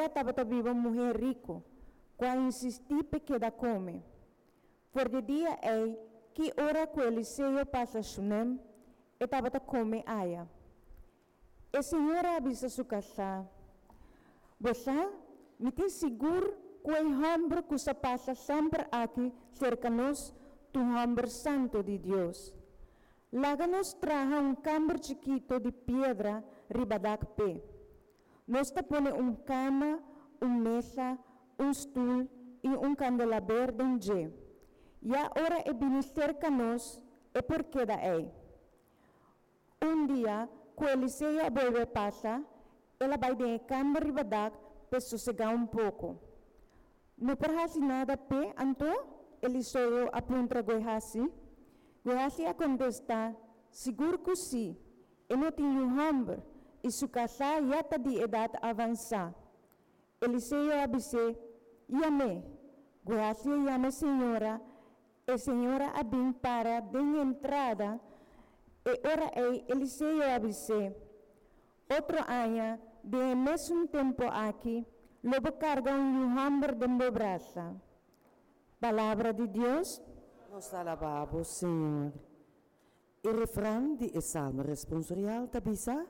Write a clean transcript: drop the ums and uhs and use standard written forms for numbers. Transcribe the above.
Serka tabata biba un muhé riku, ku a insistí p'e keda kome. For di e dia ei, ki ora ku Eliseo pasa Shunem, e tabata kome aya. E señora a bisa su kasá, Bo sa, mi tin sigur ku e hòmber ku sa pasa semper aki serka nos ta un hòmber santu di Dios. Laga nos traha un kamber chikitu di piedra riba dak p'e. Nos ta pone un kama, un mesa, un stul i un kandelaber den dje. Ya ora e bini serka nos, e por keda ei. Un dia ku Eliseo a bolbe pasa, el a bai den e kamber riba dak p'e sosegá un poko. No por hasi nada p'e anto? Eliseo a puntra Guehasi. Guehasi a kontestá, Sigur ku sí! E no tin yu hòmber, i su kasá ya ta di edat avansá. Eliseo a bis'é, Yam'é. Guehasi a yama e señora. E señora a bin para den entrada. E ora ei Eliseo a bis'é, Otro aña, den e mesun tempu aki, lo bo karga un yu hòmber den bo brasa. Palabra di Dios. Nos ta alabá bo, Señor. E refran di e Salmo responsorial ta bisa.